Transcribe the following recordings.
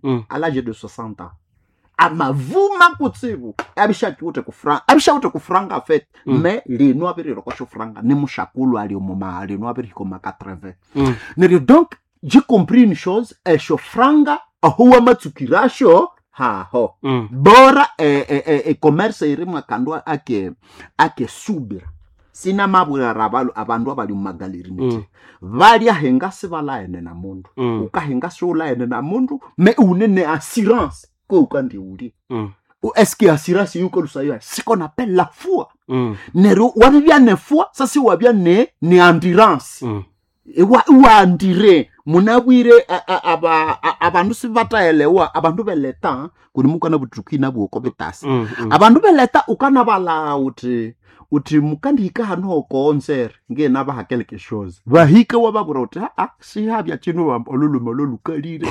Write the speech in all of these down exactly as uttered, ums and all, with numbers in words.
Mm. À l'âge de soixante ans amavuma kutsibu abishakiwute kufranga, abishawute kufranga fait. Mm. Me lino abirirokosho franga ni mushakulu ali omoma lino abirihika oma quatre-vingts. Mm. Neryo donc j'ai compris une chose: esho franga aho wamatsukirasho haho. Mm. Bora e, e, e, e commerce irimu akandu ake ake subira sinamabwira abalu abandu abali mumagaleri niti Mm. balya henga sibalaene na mundu. Mm. Ukahenga siulaene na mundu me une ne assurance ko ukandiuli. Mm. Est-ce que assurance yukolusayo, ce qu'on appelle la foi. Mm. Neryo wabibya ne foi, sasi wabya ne ne endurance. Mm. Wa wandire munabwire a- a- aba- a- abandu sibataelewa abandu beleta kuni mukana butukina bwoko bitasi. Mm. Mm. Abandu beleta ukanabala uti uti mukandihika hanu hokonsere ngena baha quelque chose bahike wababwira uti aa sihabya chinu olulume ololukalire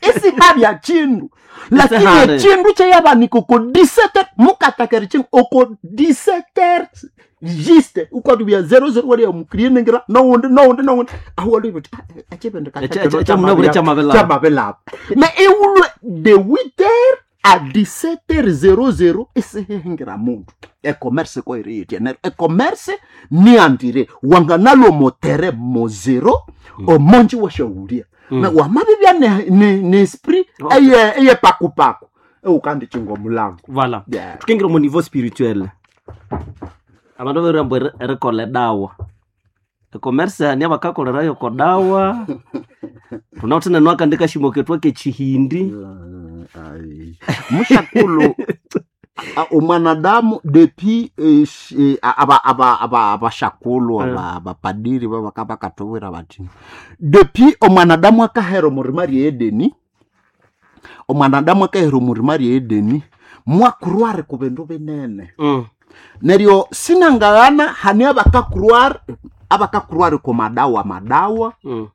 isihabya chindu, lakini Isihare. echindu kyeyabanika oko dix-sept mukatakeri chindu oko dix-sept juste ukatubya zéro zéro waliya mukrienengira nowundi nowundi nowundi aho wali uti Eche- eche- echamunabwire kyamabelaba. Kyamabelaba me iwulwe de huit heures à dix-sept heures zéro zéro isihihingira mundu ecommerce koiriitya neryo ecommerce niandire wanganalwo motere mo zero omonji washawulia. Mm. Me wamabibya ne, ne, ne esprit Okay. eye eye pakupaku eukandichinga omulango. Voilà. Yeah. Tukingira mu niveau spirituel, abandu babiramba erikolha edawa ecommerce hani abakakolerayo kodawa tunawithe nenu akandi kashimo kethu akechihindi. Ai. Mushakulu a- omwanadamu depuis eh, sh- eh, aba- aba- aba- abashakulu Eh. aba- abapadiri babaka bakatubwira bati depuis omwanadamu akahera omurima rye Edeni, omwanadamu akahera omurima rye Edeni mwakurware ku bindu binene. Mm. Neryo sinangaghana hani abakakurware abakakurware ku madawa madawa Mm.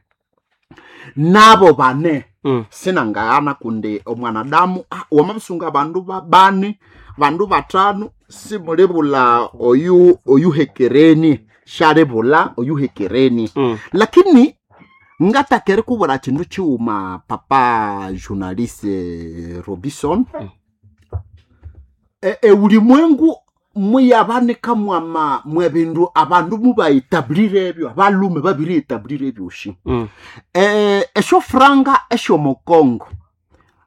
nabo bane. Mm. Sinangaghana kundi omwanadamu ah, wamabisunga abandu babane bandu batano simulibula oyu oyuhekereni shalibula oyuhekereni. Mm. Lakini ngatakere kubura kindu kiwuma papa journaliste Robinson. Mm. e, e ulimwengu muyabanika mwama mwebindu abandu mubaetablire ebyo abalume babiri etablire ebyoshi. Mm. eh, esyo franga esyomukongo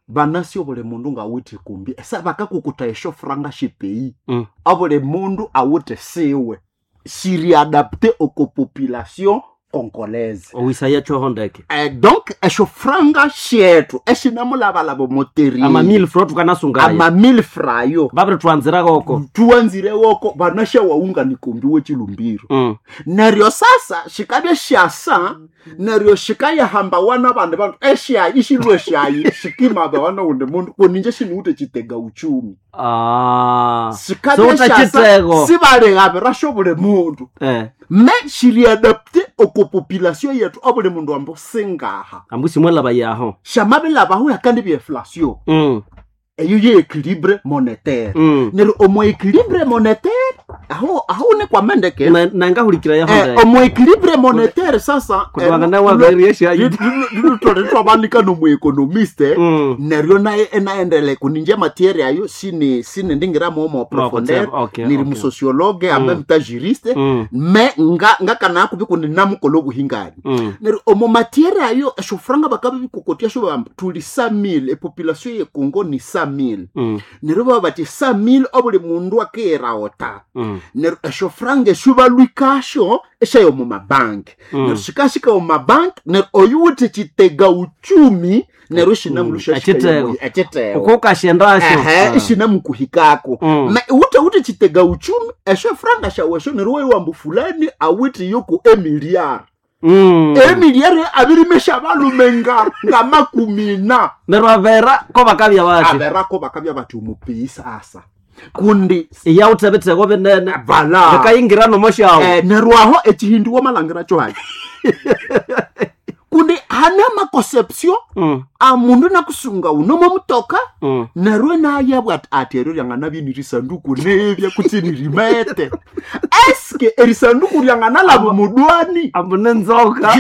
banasi obuli mundu ngawithe kumbi esa bakakukuta esyo franga shipei. Mm. Obuli mundu awithe siwe siriadapte oko population congolaise. Owisaya kyoho ndeke. Eh, donc esyo franga shetu eshinamulabalaba moteri Ama mille francs tukanasungayo. Ama mille frayo. Babiri twanziragoko. Tuwanzire woko banasha waungani kumbi wechilumbiro. Mm. Neryo sasa shikabye shasa neryo shikayahamba wana bandi bandu eshayi ishilwe shayi shikimaba wana undi mundu kuninje shiniwute chitega uchumi. Ah. Shikabye Sowuta shasa chitego. sibalekabirasho buli mundu. Eh. Me shiriadapte oko population yetu obuli mundu ambo singaha. Ambu simwelaba yaho. Shamabilabaho yakandi byeflation. Mm. Eyo ye équilibre monétaire. Mm. Neryo omo équilibre monétaire aho aho nikwamendeke. Na- nangahulikira yaho Eh, ndeke. omo équilibre monétaire sasa Kutwangana waberie shayi. twabanika nomuekonomiste. Mm. Neryo naye enaendele kuninje matière ayo sini sini ndingira momo profondeur. Okay, Niri okay. musociologue en Mm. même temps juriste. Mm. Me nga ngakana kubi kundi namukola obuhingani. Mm. Neryo omo matière ayo eshofranga bakabe bikokotia sho bamba tuli cent mille epopulation ye Congo ni cent mille. Mm. Neryo baba bati cent mille obuli mundu akeera ota. Mm. Neryo eshofranga eshubalwikasho eshayo mu mabanki. Mm. Neryo shikashika mu mabanki neryo oyuwithe chitega uchumi neryo shinamulusha. Echitego. Echitego. Uko ukashendasho. Ehe, ishinamukuhikako. Mm. Ma wute wute chitega uchumi esho franga shawesho neryo waiwambu fulani awithe yoko emiliyari. Mm. Emiliyari abirimesha balume nga nga makumina. Neryo avera ko bakabya bati. Aberako bakabya bati omupei sasa kundi Iyawuthe bitego binene. Vala. Bikayingira nomoshawo. Eh, neryo aho ekihindi wamalangira kyo haki Kundi hane amaconception Mm. amundu nakusunga unomo mutoka Mm. neryo nayabwa ati ati eryo ryanganabye nirisanduku nebya kutse nirimete eske erisanduku ryanganalaba mudwani Ambu nenzoka.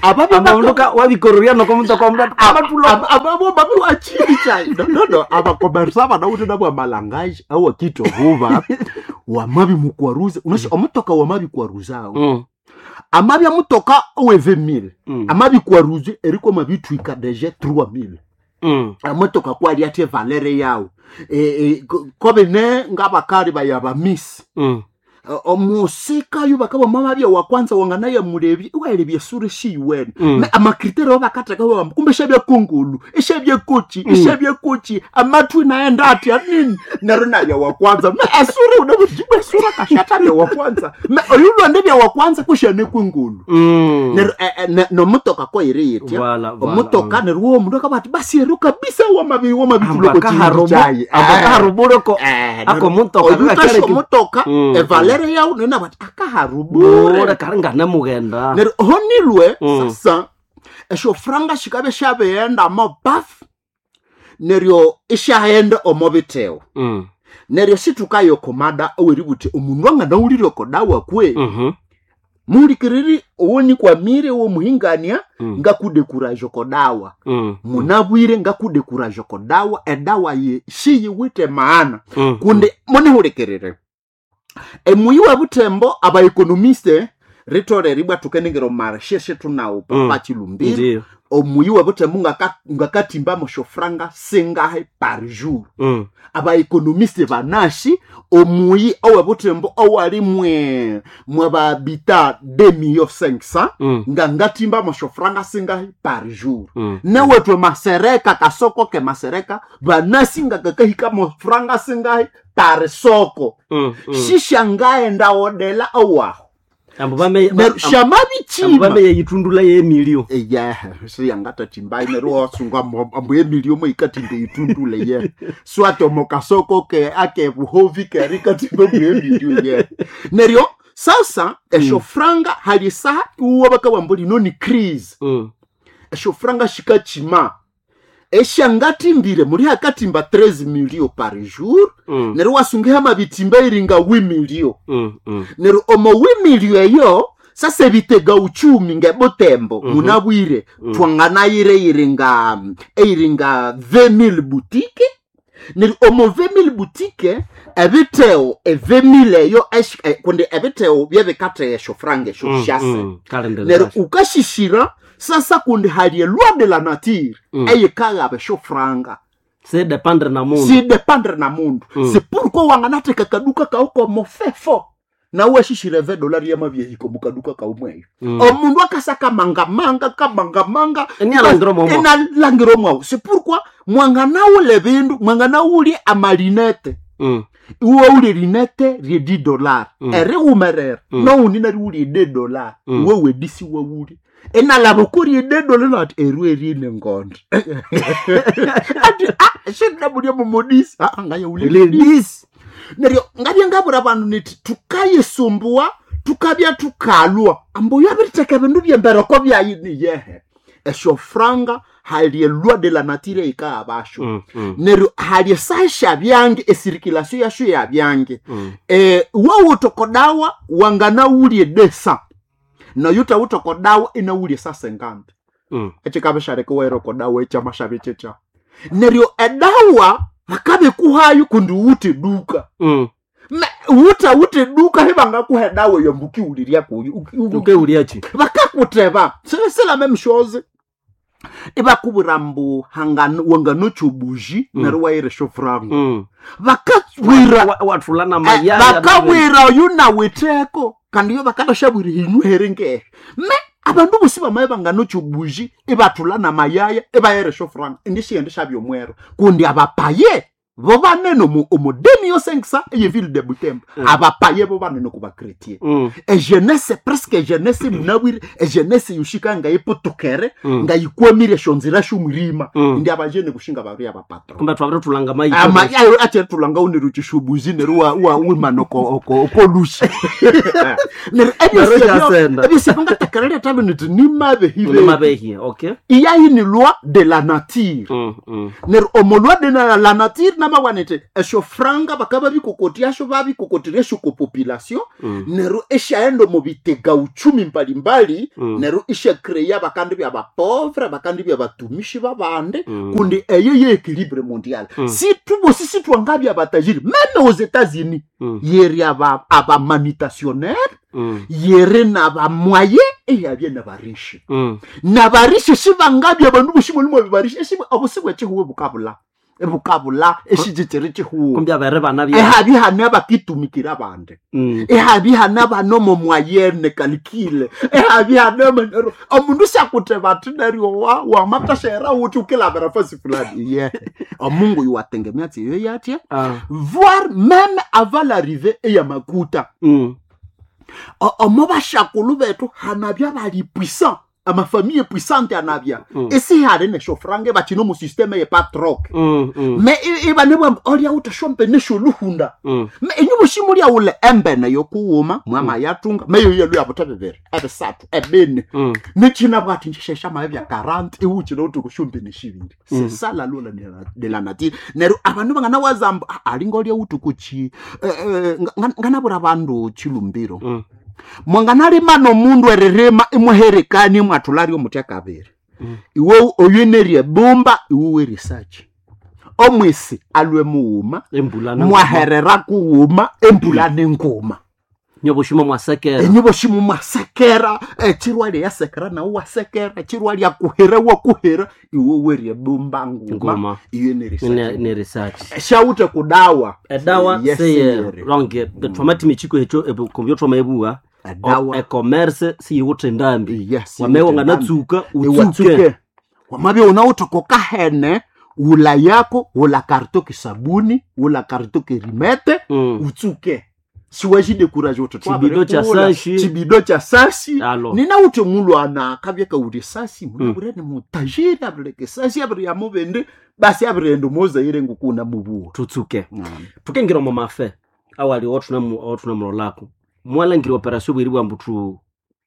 Ababe Amundu wabikororia noko mutoka omundu amathulo. Ababo babiwachini chai no no no abakomersa banawuthe nabwo amalangaji awakitohuba wamabi mukwaruza unasho omutoka wamabi kwaruzawo Mm. amabi amutoka oweve mille Mm. amabi kwaruze eriko mabitwika deje trois mille Mm. amotoka kwali athe valere yawo e, e, kobe ne ngabakali bayabamisi Mm. omusika yo bakaba mama wa kwanza wanganaye mulebi ukaelebya sure shiyiwene Mm. me amakriteri abakatheka bamba kumbe shabya kungulu ishabya kochi ishabya kochi amatwi naenda ati anini neryo nabya wa kwanza me esure unabujibu esura kashata bya wa kwanza me oyulonde bya wa kwanza kushane kungulu Mm. neryo eh, eh, ne- nomutoka koyiri yitya Voilà, voilà. omutoka neryo wo omundu akaba ati basi ero kabisa wamabi Ambakaharubu- ambakaharubuleko ako mutoka oyutasha omutoka Mm. evalere yawu nena bati akaharubure bure kari nganamughenda. neryo honilwe Mm. sasa esyo franga shikabe syabighenda omo bafu neryo isyaghenda omo bitewo Mm. neryo situkayokomada oweributhi omundu anganawulire okodawa kwe Mhm. muhulikiriri owonikwamire owomuhingania Mm. ngakudekuraja okodawa Mm. munabwire ngakudekuraja okodawa edawa ye shiyiwithe maana Mm. kundi munihulikirire emuyi wa butembo abaekonomiste ritolere ibwa tukenengera omarshe shetunawo Mm. papa chilumbiro Ndiyo. omuyi wa butembo ngaka- ngakatimba moshofranga singahe par jour Mm. abaekonomiste banashi omuyi owe butembo owali mwe mwe babita deux millions cinq cents Mm. nga ngatimba moshofranga singahe par jour Mm. newetwe masereka kasoko ke masereka vanasi nga kakahika mofranga singahi pari soko Mm. Mm. shishangaenda odela owaho Ambu bame neryo ambu shamabichima bame yeyitundula yemilio. eyehe siyangatatimbai neryo wasunga ambu emilio moikatimbe itundule ye swate omokasoko ke ake buhovi keri katimbe mbu emilio ye neryo sasa esho franga hali saha iwo bakawambo lino ni crise Mm. eshofranga shikachima eshangatimbire muri hakatimba treize milio par jour Mm. neryo wasungiha mabitimba iringa wi milio Mm. Mm. neryo omo wi milio eyo sasa ebitega uchumi ngebutembo Mhm. munabwire Mm. twanganayire iringa eiringa vingt mille boutique neryo omo vingt mille boutique ebiteo e vingt mille eyo esh- eh, kundi ebiteo byebikatheya eshofranga esho Mm. shase Mm. Kalendera. neryo ukashishira sasa kundi hali eloi de la nature Mm. eyikaghaba eshofranga Se dependre na mundu. si dependre na mundu Mm. si pourquoi wanganatheka kaduka kawu komofefo nawe ashishire ve dolari yamabyehiko mukaduka kaumweyo Mm. omundu akasa kamangamanga kamangamanga Enialangira omwo. enalangira omwawu si pourquoi mwanganawula ebindu mwanganawulye amalinete Mm. iwe wuli rinete rye di dollar Mm. eriwumerera Mm. nowundi nariwuli de dollar Mm. iwe wedisi wawuli enalaba kuri de dollar nati eru erine ngondo ati ah shinabulya mumodisi ah ngaya Ile dis. neryo ngabya ngabura bandu niti tukayisumbua tukabya tukalwa ambu yabiritheka ebindu byembereko byayi niyehe esyo franga hali eloi de la nature yikaabasho Mm. Mm. neryo hali esaha syabyange esirikilasiyo yasyo yabyange Mm. e, wawutokodawa wanganawulye desa noyutawutokodawa inawulye sasengandi Mm. ekikabishareka werokodawa ekyamashabi kyekya neryo edawa bakabikuhayo kundi wute duka Mm. Me- wuta wute duka hibangakuha edawa eyo mbukiwulirya kuyo Uki- uki- Ukeuliachi. bakakuteba sila memshozi ibakubwira mbu hangano- wanganocha obuji Mm. neryo wayiresha ofuranga Mm. bakabwira Wa- Wathula na Eh, mayaya. bakabwira oyu nawitheko kandi yo bakadashabwira hinyuhere ngehe me abandu bosi bamaye banganocha obuji ibathula namayaya ibayeresha ofuranga indi shiyende shabya omwero kundi abapaye Bo banene omu omu deux millions cinq cents eye ville de Butembo. Mm. Abapaye bo banene ku bachrétien. Mm. Ejeunesse presque jeunesse munabwire, ejeunesse yoshika nga ipotokere, Mm. nga yikwamire shonzira shumurima. Mm. Ndi abajene kushinga bari abapatron. Kumbe twabire tulanga mayi. Ama ayo ache tulanga unero chishubuzi nero wa wa wimano ko ko ko lushi. Nero Nero ebyo kyasenda. ebyo sibanga takarere tabe ni mabe hibe. Ni mabehi, okay. Iya ni loi de la nature. Mm. Mm. Nero omo loi de la, la nature namawanete esho franga bakaba bikokoti asho babikokotire esho ko population Mm. nero eshaenda mu bitega uchumi mbalimbali Mm. nero ishakreya bakandi bya bapauvre bakandi bya batumishi babande Mm. kundi eyo ye équilibre mondial Mm. si tubosi si twangabya batajiri même aux États-Unis Mm. yeri aba aba manutentionnaire Mm. yeri na ba moyen eyabye na barishi Mm. na barishi sibangabya bandu boshimo limo barishi esibo obusibwe chihuwe bukabula bukabula eshijitere chihuwe Kumbe abere bana bya. ehabi hane abakitumikira bande Mm. ehabi hane abanomo mwayene kalikile ehabi hane manero omundu syakuteba ati neryo wa wamatashera uti ukilavera fasi fulani ye omungu yuwatengemea tsiyo yatya Ah. voire même avant l'arrivée eyamakuta Mm. O- omo bashakulu bethu hanabya bali puissant amafamille puissante anabya Mm. esihali neshofrange bachino mu systeme ye patrok Mm. Mm. me ibane bwamba olya utashompe nesholuhunda Mm. me inyu bushimu lya ule embene yokuwuma mwama yatunga meyo yelu yabuta bibiri ebisathu ebine Mm. nechina bwati nshesha maye bya quarante iwuchina uti kushumbi neshibiri sesala lula de la nature neru abandu bangana wazamba alinga olya uti kuchi eh, eh, nga- nganabura bandu chilumbiro Mm. mwanganalima nomundu eririma imuherekani mwathularyo mutya kabiri Mm. iwe oyenerye bumba iwe werisachi omwisi alwe muwuma Embula na. mwaherera kuwuma embula nenguma Nyoboshimo mwasekera. enyiboshimo mwasekera echirwa lyasekera nawe wasekera echirwa lyakuhera wakuhera iwe werye bumba nguma Nguma. iyo Ne nerisachi ne research. shawute kudawa Edawa Yes, seye seyere. ronge twamati michiko echo kompyuta twamaebuwa. Edawa. E-commerce siyiwutha endambi. Yes, Wamewa siyiwutha endambi. nganatsuka utsuke. Iwatsuke wamabya unawutha kahene wula yako wula karto kisabuni wula karto kirimete Mm. utsuke siwachidekuraje uti Chibido cha sashi. chibido cha sasi Alo. ninawuthi mulwana akabya kauli sasi munabure ni mutajiri abireke sasi abiri yamubindi basi abirienda muzaire ngukuna mubuwa Tutsuke. Tukengira omu mafe awali othunamulolako mwalangira operation bweri bwambu tu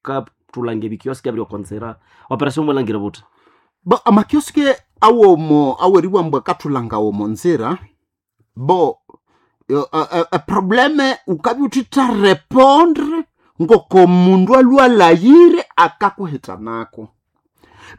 ka tulange ebikioski abiri okonzera operation mwalangira buthi bo amakioski awomo aweriwambwa kathulanga womo nzira bo eprobleme ukabya uthitha répondre ngoko mundu alwalayire akakuhitanako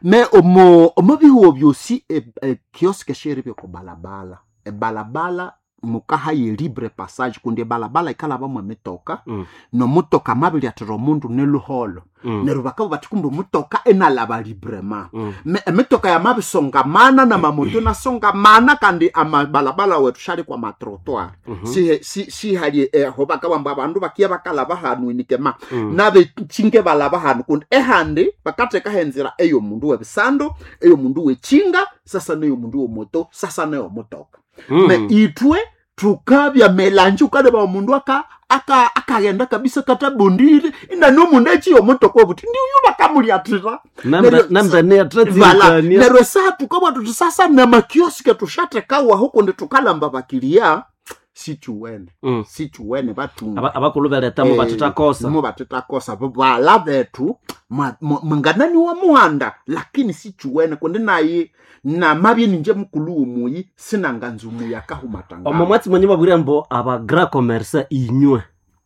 me omo omo bihuwo byosi ekioski sheri byokubalabala ebalabala mukaha ye libre passage kundi ebalabala ikalabamo emitoka Mm. nomutoka mabilyathira omundu neluholo Mm. neryo bakabugha bathi kumbe omutoka enalaba librema Mm. Me- emitoka yamabisongamana namamoto nasongamana kandi amabalabala wethu shali kwa matrottoir Mhm. si si sihali eho bakabamba abandu bakiya bakalaba hanu inikema Mm. nabechinge balaba hanu kundi ehandi bakatheka henzira eyomundu webisando eyomundu wechinga sasa neyomundu womoto sasa neyomutoka Mm. me itwe tukabya melanji ukaleba omundu aka aka akaghenda kabisa katabondire ina nomundu echiyo omutoka obuti ndiuyu bakamulyathira Nembe- Neryo- nembe vala niyathatsirikania neryo esaha tukabwa tuthi sasa namakioske tushathekawaho kundi tukalamba bakiliya sichuwene Mm. sichuwene bathunga Aba- abakulu beletamo Eh, bathithakosa mo bathithakosa bala bethu ma- ma- munganani wa muhanda lakini sichuwene kundi naye namabye ninje mukulu womuyi sinanganza omuyi akahumatanga omo mwatsi mwenye babwire mbu aba grand commerce inywe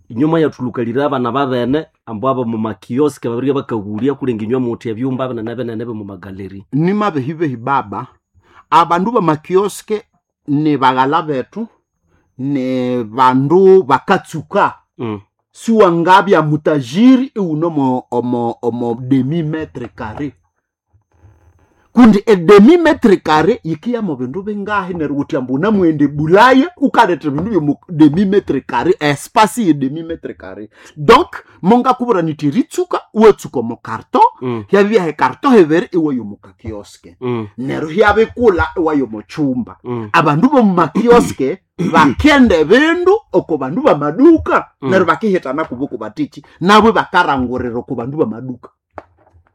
inywe mwayathulukalire abana babene ambu abo mumakioski babirike bakaghulya kulenga inywe muthi ebyumba binene binene bimumagaleri nimabehibehi baba abandu bamakioske ni baghala bethu ni bandu bakatsuka mm. siwangabya mutajiri iwuno omo, omo demi metre carré kundi edemi metre carré yikiya mu bindu bingahi neryo wuthi ambu unamwende bulaya ukaletha bindu byomu demi metre carré espace ye demi metre carré donc mongakubwira niti ritsuka uwetsuka omo carton Mm. Hyabya ekarto hebere iwayo mukakioske. Mm. Neryo hyabikula iwayo muchumba. Mm. Abandu bomumakioske bakenda ebindu oko bandu bamaduka. Mm. Neryo bakihitana kubo batichi nabo bakarangurira oko bandu bamaduka.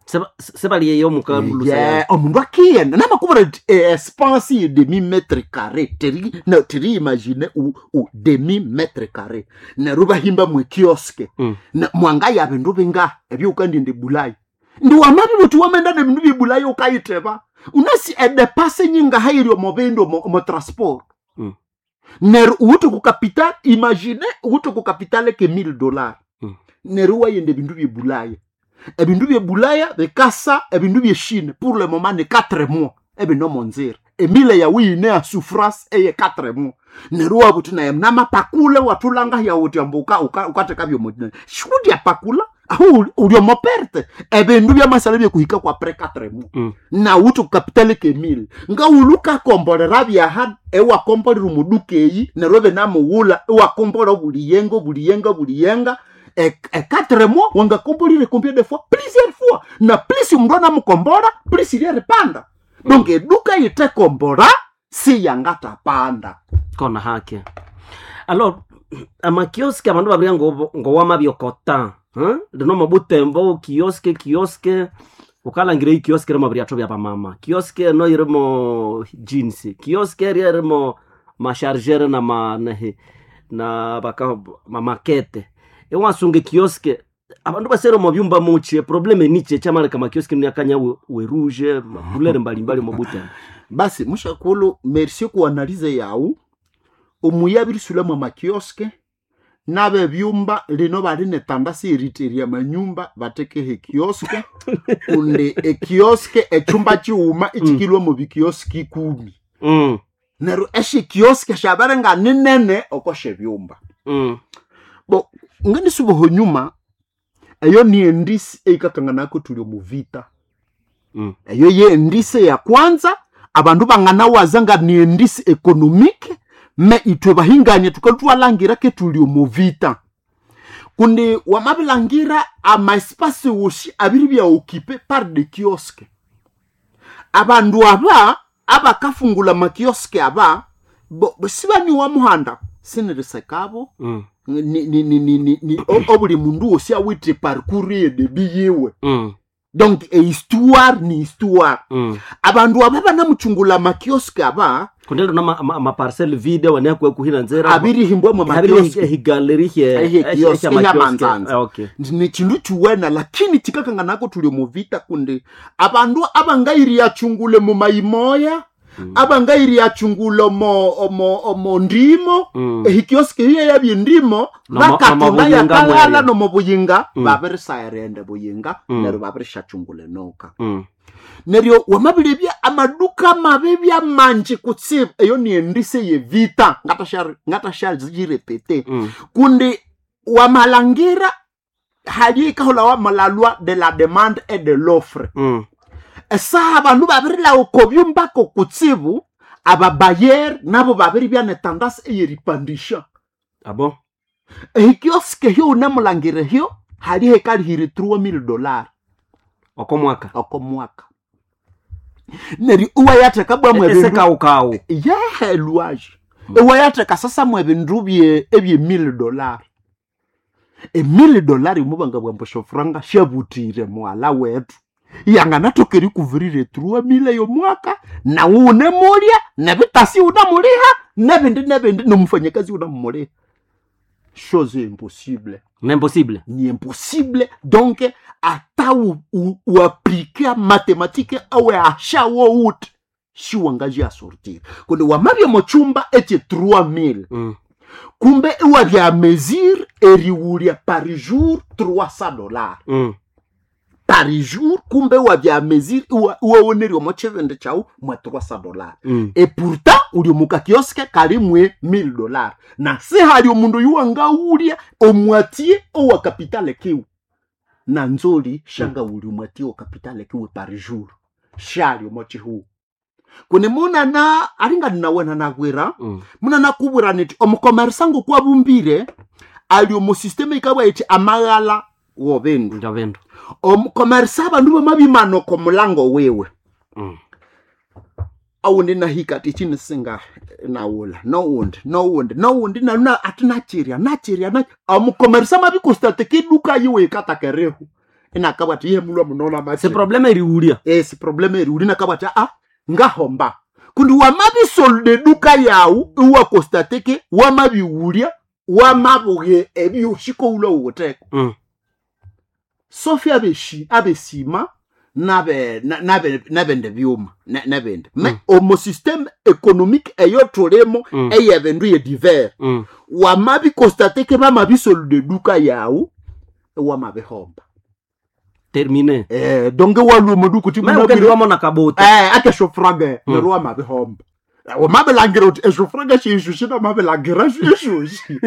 Seba- sebaliyeyo mukalulusa. Yeah, omundu akiyenda namakubura espace ye demi mètre carré teri no teri imagine u, u demi mètre carré neryo bahimba mwe kioske. Mm. Na- mwanga ya bindu binga ebyukandinde bulayi ndi wamabi buti wamenda ne bindu byebulayi ukayiteba unasi edepase nyinga hayiri omo bindu omo, omo transport. Mm. Neryo uwuthi ku capital imagine uwuthi ku capital ke mille dollars. Mm. Neryo wayenda ebindu byebulaya ebindu byebulaya bikasa ebindu byeshine pour le moment ni quatre mois ebinomonzira emile yawe yine ya souffrance eye quatre mois neryo wabuthi naye namapakule wathulanga yawuthi ambu uka- uka- ukatheka byomo shudi apakula aho uli- uli omo perte ebindu byamasala byekuhika kwa après quatre mois. Mm. Nawuthi kukapitali kemile ngawulu ukakombolera byaha ewakombolera omuduka eyi neryo ebinamughula ewakombola obuliyenga obuliyenga obuliyenga e e quatre mois wangakombolire combien de fois? Plusieurs fois. Na plus omundu anamukombora plus iryeripanda. Donc eduka yitekombora siyangatapanda. Kona hake alors amakioske abandu babria ngo ngowamabyokota, huh? Lino mabutembo kioske kioske ukalangira ikioske rimo bryatho bya bamama kioske no irimo jeans kioske ririmo mashargere na ma nehe na baka mamakete ewasunge kioske abandu basere mu byumba muche probleme niche chamaleka makioske myakanya we, we rouge makulere mbalimbali mu butembo. Basi mushakulu merci kuanalize yawu omuyabirisula mwa makioske n'abebyumba lino bali netandasi eriteria manyumba batekeho ekioske kundi ekioske echumba chighuma ichikilwa mu bikioski ikumi. Mm, Neryo esyikioske syabere nga ninene oko syebyumba. mm, Bo ngendisuba nyuma eyo ni endisi eikakanganako tuli omu vita. Mm. Eyo ye endisi ya kwanza abandu banganawaza nga ni endisi économique me ithwe bahingania tukatwalangira ke tuli omu vita kundi wamabilangira ama espace wosi abiri bya occupé par des kiosques. Abandu aba abakafungula makioske aba bo, bo sibaniwa muhanda sinirisekabo. Mm, ni, ni, ni, ni, ni, ni o- obuli mundu wosi awithe parcours ye debi yiwe. mm, Donc ehistoire ni histoire. Mm. Abandu aba banamuchungula makioske aba Kundi lino maparcel vide wanekwe kuhina nzera abirihimbwa mwa makioske higaleri Ehe kioske hyamanzanza. Okay. Ni chindu chiwena lakini chikakanganako tuli muvita kundi abandu abangairiyachungule mumayimoya. Mm. Abangairiyachungule mo, mo, mo ndimo. Mm. Ehikioske hiyo yabyendimo Nomo- bakatunda nomobuyinga yakalala mweryo. nomobuyinga. Mm. Babirisayirende buyinga. Mm. Neryo babirishachungule noka. Mm. Neryo wamabilibya amaduka mabi byamanji kutsibu eyo niendise yevita ngatasharipete. Mm. Kundi wamalangira hali ikahola wamalalwa de la demande et de l'offre. Mm. Esaha abandu babirilawo kobyumbako kutsibu ababayer nabo babiribya netandasi eyeripandisha. Abo Ehikioske hyo unamulangira hyo hali hekalihire trois mille dollars. Oko mwaka. Oko mwaka neryo iwayatheka bwa mwebindu Esekaukawu. yehe lwaje iwayatheka sasa mwebindu bye ebye mille dollars emille dollars imubanga bwambo shofranga shabutire mwala wetu yanganathoka erikuvirire trois mille yomwaka nawe unemulya nebitasi unamuliha nebindi nebindi nomufanyakazi unamuliha chose impossible. N'impossible. Ni impossible donc ata u- u- uaplike mathématique awe ashawo uti shiwangaji asortir kundi wamabya mochumba eche trois mille. Mm. Kumbe iwabya mesure eriwulya par jour trois cents dollars. Mm. Par jour kumbe iwabya mesure iwawonerya omo chibindi kyawu mwa trois cents dollars. Mm. E pourtant uli omuka kioske kali mwe mille dollars na sihali omundu yuwangawulya omwatie owa kapitale kiwe na nzoli shangawulya omwatie owa kapitale kiwe par jour shali omo chihuwu kuni munana alinga ninawena nakwira. Mm. Munana kubwira niti omukomersa ngokwabumbire ali omu systeme ikabwa iti amaghala wobindu Ndio bindu. Omukomersa abandu bamabimana oko mulango wiwe. Mm. Awundi nahika ati chini singa nawula nowundi nowundi nowundi naluna ati nachirya nachirya na omukomersa mabikostate kiduka yiwe ikatakerehu inakabwa ati iye mulwa munona Se machi problema eriulia. Esi problema eri uli nakabwa ati a ngahomba kundi wamabisolde duka yawu iwakostateke wamabiwulya wamabuge ebyoshiko ulwa uwuteko. Mm. Sofi abeshi abesima nabe na- nabe nabende byuma na- nabende me Mm. omo système économique eyo tulimo Mm. eyebendu ye divers. Mm. Wamabikostateke bamabisolde duka yawu wamabihomba. Termine. Eh, donc waluma duku ti Me ukendi wamona kabuta. eh akeshofraga Mm. nerwo wamabihomba wamabilangira uti eshofraga shishu shinamabilangira shishushi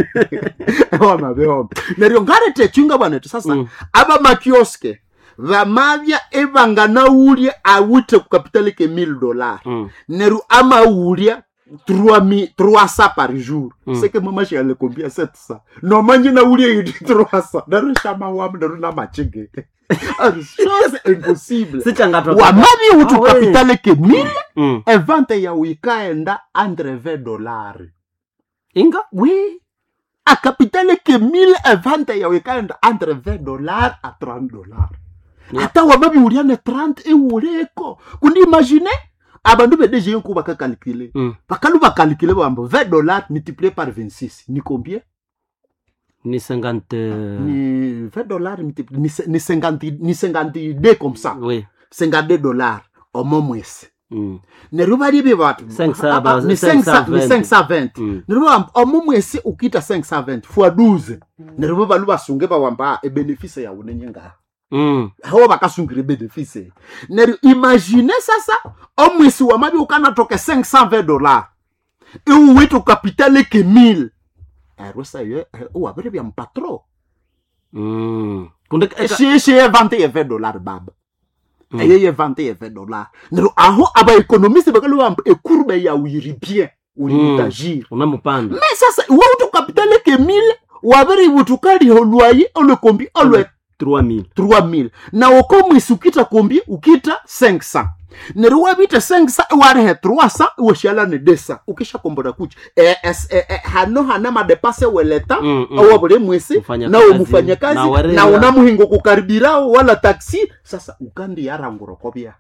wamabihomba neryo ngareta echinga bwana ti sasa Mm. abamakioske vamavya evanganawulya awithe kukapitali ke mille dollar. Mm. Neryo amawulya trois cents par jour. Mm. Seke mamashale combien? Sept cents nomanje nawulya yiti trois cents neryo shamawamu neryo namachige chose impossible. Sichangatwa. Wamavi uti Ah, we. kapitale ke mille Mm. evente yawu ikaenda entre vingt dollars. Inga? Oui, a capitale ke mille evente yawu ikaenda entre vingt dollars a trente dollars. Yeah. Ata wamabi uliane trente iwuleko kundi imagine abandu bedeje nku bakakalkile. Mm. Bakalu bakalikile bambo vingt dollars multiplié par vingt-six ni combien? Ni cinquante. Ni vingt dollars multiplié ni, ni cinquante ni cinquante-deux comme ça. Oui. cinquante-deux dollars omo mwesi. Mm. Neryo balibye batu cinq cents Ah, ah, ba- ni cinq cents ni cinq cent vingt. cinq cent vingt. Mm. Neryo bawamba omo mwesi ukita cinq cent vingt fois douze neryo balu basunge bawamba ebenefice yawu nenyenga. Mm. Aho bakasungire benefice neryo imagine sasa omwesi wamabi ukanatoke cinq cent vingt dollars iwuwithe ukapitale ke mille eryo sayo wabiri bya mpatro. Mm. Kundi eka- Shishi evante ye vingt dollars baba. Mm. Eye yevante ye vingt dollars neryo aho abaekonomiste bakalubamba ecourbe yawu yiri bien uri Mm. mutagir. Unamupanda. Me sasa iwe ukapitale ke mille wabiri butukaliho lwaye olwe kombi olwe trois mille. trois mille na oko mwisi ukita kombi ukita cinq cents neryo wabita cinq cents warihe trois cents iwashala ne deux cents ukishakombora kuchi e, es, e, e, hano hana madepase weleta Mm, mm. awa buli mwisi Mfanyakazi, nawe mufanyakazi na warera. na unamuhingo kukaribirao wala taxi sasa ukandi yarangura kobya.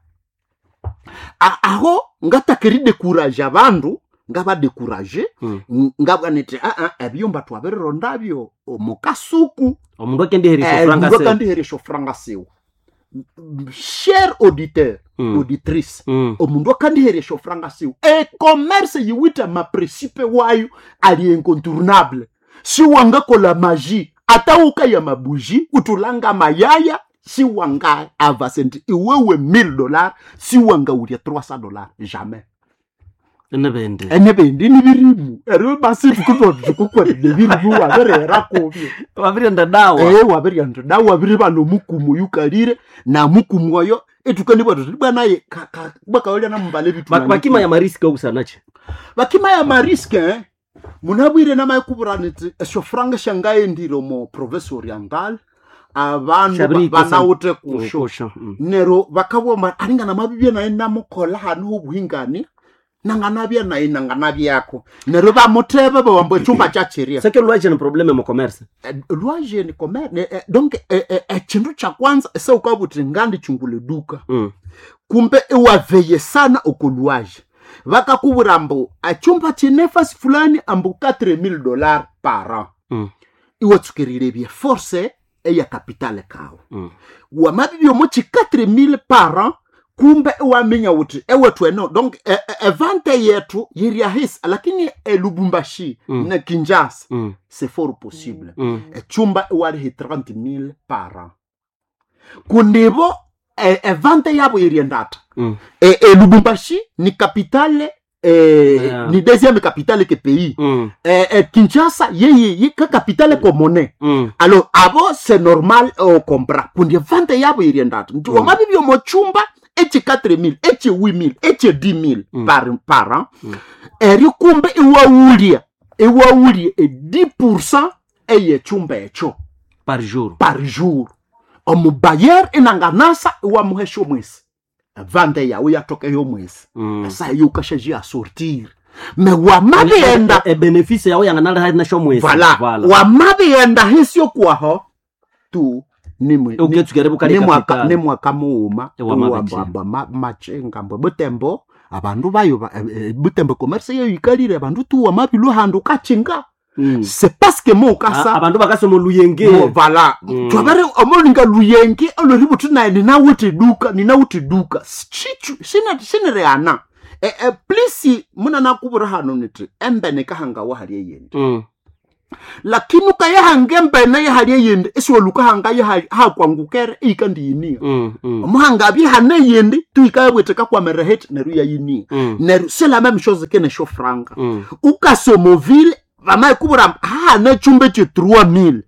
A- aho ngatakiri dekuraje abandu ngabadekuraje. Mm. Ngabwa niti aa ebyumba twabirirondabyo omukasuku. Omundu akendiherisha franga Mundu se. akandiheresha franga siwe cher auditeur, Mm. auditrice. Mm. Omundu akandiheresha franga siwe ecommerce yiwite maprincipe wayo ali incontournable siwangakola magie ata ukaya mabuji utulanga mayaya siwanga avasenti iwewe mille dollars siwanga ulya trois cents dollars jamais. Enebende. Enebindi nibirimu eryo basi tukutotukukwere nebirimu wabirera kubyo. Wabirienda dawa. Eh wabiryandu da wabiri bano mukumu yukalire na mukumu oyo etukani bwatu bwanaye bwakawolya namumbale bitu. Bak- Bakima ya mariski okusanache. Bakima ya mariske eh? Munabwire namayikuburaniti esyo franga shangaendire omu province oriental abandu ba- Shabiri ikosa- banawuthe kusho. Kusho. Mm. Neryo bakabwoma aringa namabibye naye namukola hanu hobuhingani nanganabya naye nanganabyako neryo bamuthebe bawamba echumba kyachiria. Seke lwaje ni probleme mu commerce. Lwaje ni commerce eh, donc eh, eh, echindu cha kwanza eseukabuthi ngandichungule duka. Mm. Kumbe iwaveye sana okolwaje vakakuvura mbu achumba chinefasi fulani ambu quatre mille dollars par an. Mm. Iwatsukerile bye force eya kapitale kawe. Mm. Wamabibyo mochi quatre mille par an kumbe iwaminya uti ewethu eno donc e- e- evante yethu yiriahisi lakini elubumbashi Mm. na kinshasa Mm. c'est fort possible. Mm. Echumba iwalihi trente mille par an kundivo e- evante yabo iriendata. Mm. e, e, lubumbashi ni capitale e, Yeah. ni deuxième capitale ke pays. Mm. e, e, kinshasa yeye ye, ka capitale komone. Mm. Alors abo c'est normal okompra kundi evante yabo iriendata nti Mm. wamabibyo mochumba echi quatre mille echi huit mille echi dix mille Mm. par, par an. Mm. Eryo kumbe iwawulya iwawulya e dix pourcent eyechumba echo Par jour. par jour. Omubayer inanganasa iwamuhesha omwesi vande yawe yatokeyo omwesi. Mm. Esaha eyo ukashaji asortir me wamabighenda. E- e- benefice yawe yanganali nasho mwesi. Vala, wamabighenda hisyo kwaho tu nimwe Uketsuka bukali nimwaka capital. nimwaka mughuma. Ewamabichi. Ewamba machenga mbwe butembo abandu bayo ba- eh, eh, butembo commerce yeyo yikalire abandu tu wamabilwa handu ukachinga. Mm. C'est parce que mo A- ukasa abandu bakasoma oluyenge. Mo, vala. Mm. Twabere omolinga luyenge olweributhi naye ninawuthi duka ninawuthi duka Chichu- sine- sinireana. E, e, plisi munanakubura hano niti embene kahanga wahali eyindi. Mm. Lakini ukayahanga embene yahali eyindi isiwolukahanga hakwangukere iyikandiyinia. Mm. Mm. Omuhanga abyehana eyindi tuikayabwete kakwamere heti neryo yayinia. Mm. Neryo selama emishozi kene shofranga. Mm. Ukasomovile vamayikuvura hahana chumba che trois mille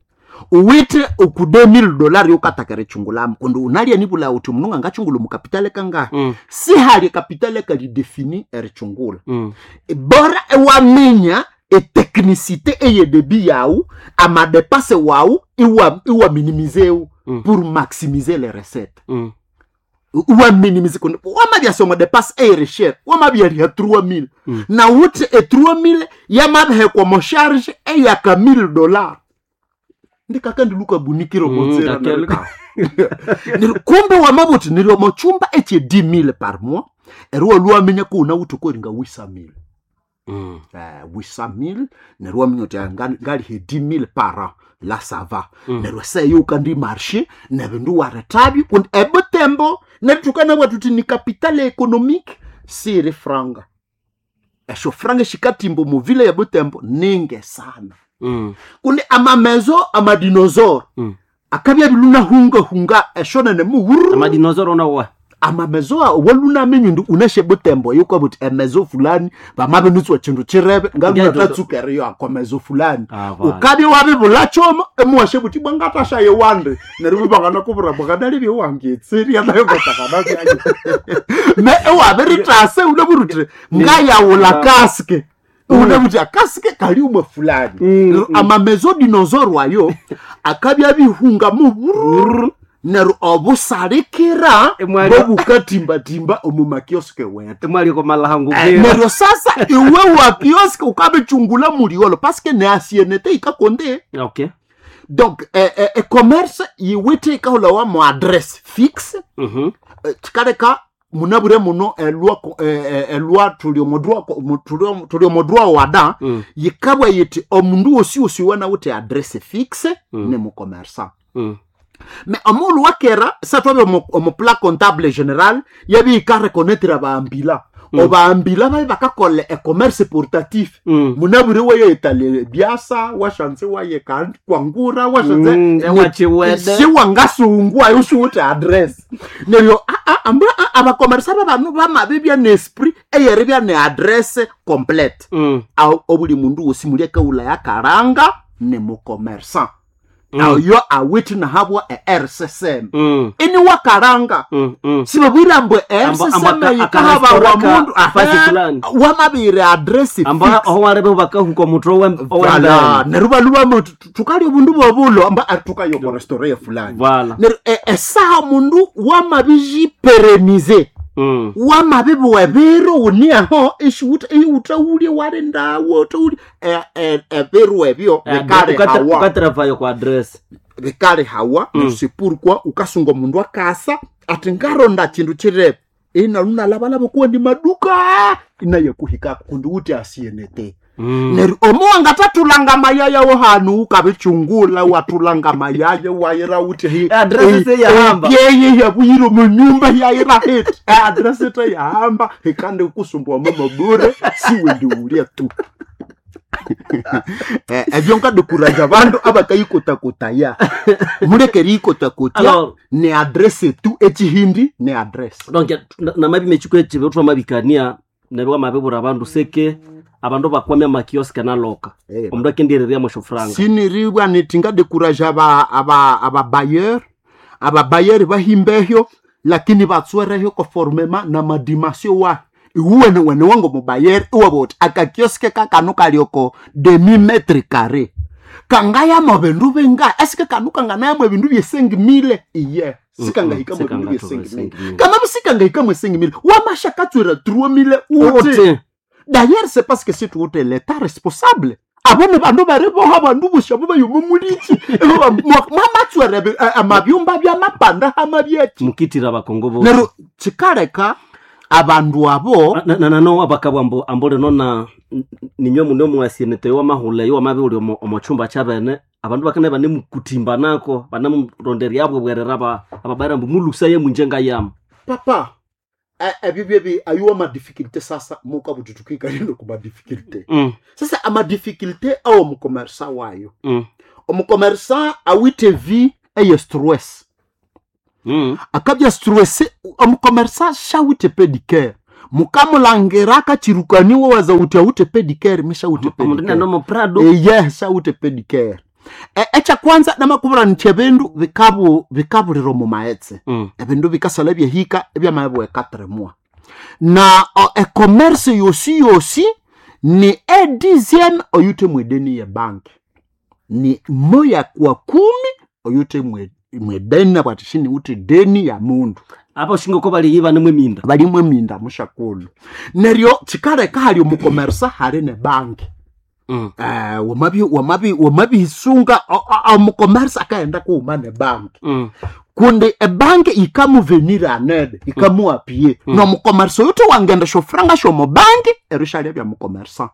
uwithe oku deux mille dollar yokatakere chungulamu kundi unalya nibula uthi mundu ngangachungula mukapitale kangahi. Mm. Sihali kapitale kalidefini erichungula. Mm. Bora ewaminya etechnicité eyedebi yawu amadepase wawu iwa iwaminimizewu Mm. pour maximiser les recettes. Mm. Iwaminimize kundi wamabyasoma depase eyereshere wamabyaliha trois mille. Mm. Na wuthi e trois mille yamabihekwa mosharge eyaka mille dollar ndikakandiluka bunikiro Mm, motsera. kakeluka. Neryo kumbe wamabuthi niryo mochumba eche dix mille par mois eri waluwaminya kuuna wuthi koringa wisa mille. Mm. Eh, wisa mille neryo waminya uthi ah, nga- ngalihe dix mille par an la ça va. Mm. Neryo seyo ukandi marché nebindu warethabyo kundi ebutembo neryo tukanabwa tuthi ni capitale économique siri franga esyo franga shikatimba omuvile ya butembo ninge sana. Mm. Kundi amamezo amadinosaure Mm. akabya bilunahungahunga eshonene muwuru. Amadinosaure onawa. Amamezo walunamenyu ndi uneshe butembo yukabuti emezo fulani vamabinutswa chindu chirebe ngalunatatsukereyo akwa mezo fulani. Ah, vala. Ukabya wabibula choma emuwashe buti bwangatashaye wande neryo bibangana kubura bwanganalibye wangetseria nayo ngatakanabyanye me ewabiritase uneburuti ngayawula kaske unebuti akaske kali umwe fulani. Mm, Neryo mm. amamezo dinosaur wayo akabya bihunga muburu neryo obusalikira Emwali- bobukatimbatimba omu makioske wetu. Emwali komalahangu. Eh, neryo sasa iwe wa kioske ukabichungula muliolo paske ne asienete ikakonde. Okay. Donc eh, eh, e commerce yiwithe ikahulawa mu adresse fixe. Mhm. Eh, chikaleka munabure muno elwa ko- eh, eh, elwa tuli omudrwa ko- mu- tuli- tuli omudrwa wada. Mm. Yikabwa yiti omundu wosi wosi wanawithe adresse fixe. Mm. Ne mucommerçant. Mm. Me omulu wakera satwabe omu omu plan comptable général yabi ikareconnaître abambila. Mm. Obambila babe bakakola e-commerce portatif. Mm. Munabure wayetale biasa washanze waye kan- kwangura washanze. Mm, ewachiwede. Siwangasungwa usiwuthi address neryo a- a- amba a- abakomersa babanu bamabibya neesprit eyeribya ne adresse complète. Mm. Aho obuli mundu wosi muli akaula yakaranga ne mucommerçant. Mm. Ayo awithe nahabwa e-R C C M. Mm. Ini wakaranga. Mm. Mm. Sibabwira mbwe Amba- R C C M amba- yikahabawa aka- mundu fasi fulani. wamabire adresse Amba fixe. aho warebe bakahuka omutwe owe- Vala, owembere. neryo baluba tukalya obundu bobulo amba tukayo restaurant ya fulani. Vala. Neryo e- esaha mundu wamabijiperenize. Mm. Wamabibuwa ebiro wuniaho ishiwutawulye walindawo utawulye ebiro ebyo bikalihawa. Ukatravayo kwa address. Bikalihawa. Mm. C'est pourquoi ukasunga omundu akasa ati ngaronda chindu chirebe inalunalabalaba kuwa ndi maduka inaye kuhikako kundi wuti asienete. Mm. Neryo omuwangatatulanga mayaya wo hanu ukabichungula watulanga mayaya wayira wuthi hi- Address eh, yahamba. eh, yeye yabuyire munyumba yayira heti address ete yahamba ikandi kusumbua mama bure siwe ndiulia tu. Eh, ebyo nkadukuraja bandu abakayikotakotaya mulekeri ikotakotia. Alors, Ne adresse tu echihindi ne adresse. Donc namabi mechiko echibe twamabikania neryo wamabibura abandu seke abandu bakwamya amakioske naloka. Eh, Omundu akendireria mweshofuranga. Siniribwa niti ngadekuraja aba aba ababayeur ababayeur bahimbehyo lakini batswerehyo conformément na madimension wa iwuwene wene wango mubayer iwaboti akakioske kakano kalioko demi mètre carré. Kangayamo bindu binga esike kanu kanganayamo ebindu bye cinq mille iye sikangahikamo ebindu bye cinq mille kama sikangahikamo cinq mille wamashakatswera trois mille uti. D'ailleurs, c'est parce que c'est tout l'état responsable. Abo ni bandu bariboha bandu busha bo bayuma muliki mwamatswera amabyumba byamapanda hamabyeki mukitira bakongo bo nero chikaleka abandu abo nanano abakabwa ambo ambole nona ninywe muno mwasienete wa mahula yo mabi uli omo chumba chabene abandu bakane bane mukutimba nako banamuronderia abwe bwerera aba ababara mbu mulusa ye munjenga yam papa ebyo byebi ayuwa madifficulté sasa muka bututukika lino ku madifficulté mm. Sasa amadifficulté awo omukomersa wayo mm. omukomersa awite vi eye stress mm. akabya stress omukomersa shawite pedicare mukamulangira akachirukaniwa waza uti awute pedicare mishawute omundu pedicare nanomo prado eye shawute pedicare E- ekyakwanza namakubura nti ebindu bikabu bikabulira omu maghetse mm. ebindu bikasala byehika ebyamabwe katremwa na o, e-commerce yosi yosi ni e dixième oyute mwedeni ye bank ni moya kwa kumi oyute mwe- mwedeni nabwati shini uti deni ya mundu apa ushinga ko bali yiba nimwe minda balimwe minda mushakulu neryo chikaleka hali omukomersa hali ne banki mm. eh, wamabi wamabi wamabisunga omukomersa akaenda kuuma ne banki mm. kundi ebanki ikamuvenira anene ikamuapie Mm. nomukomersa oyo wangenda shofuranga shomubanki ero shalia bya mukomersa